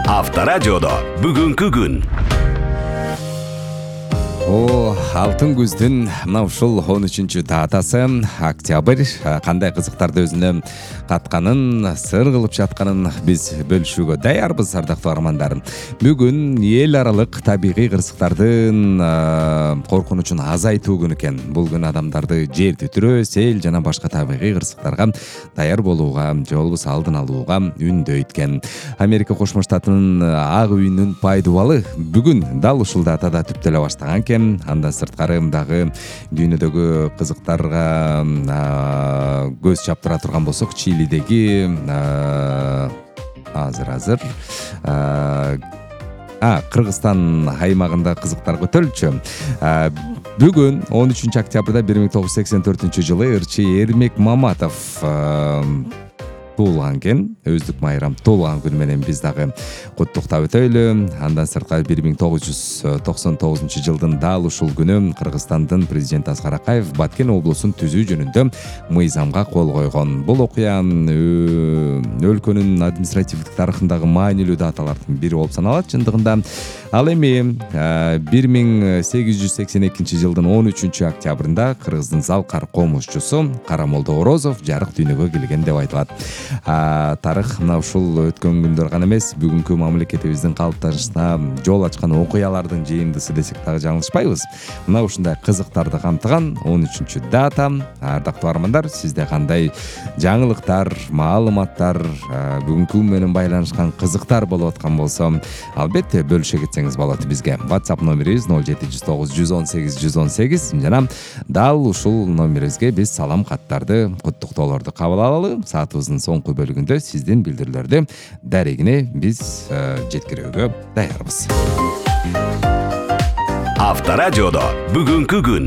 Авторадиодо бүгүнкү күн. Алтын күздүн мына ушул 13-датасы октябрь кандай кызыктарды өзүнө катканын, сыр кылып жатканын биз бөлүшүүгө даярбыз, ардактуу армандар. Бүгүн эл аралык табигый кырсыктардын коркунучун азайтуу күнү экен. Бул күн адамдарды жер титирөө, сел жана башка табигый кырсыктарга даяр болууга же болбосо алдын алууга үндөйт экен. Америка Кошмо Штатынын Ак үйүнүн пайдубалы бүгүн дал ушул датада түптөлө баштаган экен. Андан сырткары дагы дүйнөдөгү кызыктарга көз чаптыра турган болсок, Чилидеги азыр Кыргызстан аймагында кызыктар көтөрүлчү. Бүгүн 13-октябрда 1984-жылы ырчы Эрмек Маматов туулган экен. Өздүк майрам туулган күнү менен биз дагы куттуктап өтөйлү. Андан сырткары 1999-жылдын дал ушул күнү Кыргызстандын президенти Аскар Акаев Баткен облусун түзүү жөнүндө мыйзамга кол койгон. Бул окуя өлкөнүн административдик тарыхындагы маанилүү даталардын бири болуп саналат чындыгында. Ал эми 1882-жылдын 13-октябрында Кыргыздын Залкар комузчусу Карамолдо Орозов жарык дүйнөгө келген деп айтылат. Тарых мына ушул өткөн күндөр гана эмес, бүгүнкү мамлекетибиздин калыптанышына жол ачкан окуялардын жыйындысы десек дагы жаңылышпайбыз. Мына ушундай кызыктарды камтыган 13-дата. Ардактуу армандар, сизде кандай жаңылыктар, маалыматтар, бүгүнкү күн менен байланышкан кызыктар болуп аткан болсо, албетте бөлүшө кетсеңиз болот бизге. WhatsApp номерибиз 0709 118 118 жана дал ушул номерибизге биз салам каттарды, куттуктоолорду кабыл алалы. Саатыбыздын соңку бөлүгүндө сиздин билдирүүлөрдү дарегине биз жеткирүүгө даярбыз. Авторадиодо бүгүнкү күн.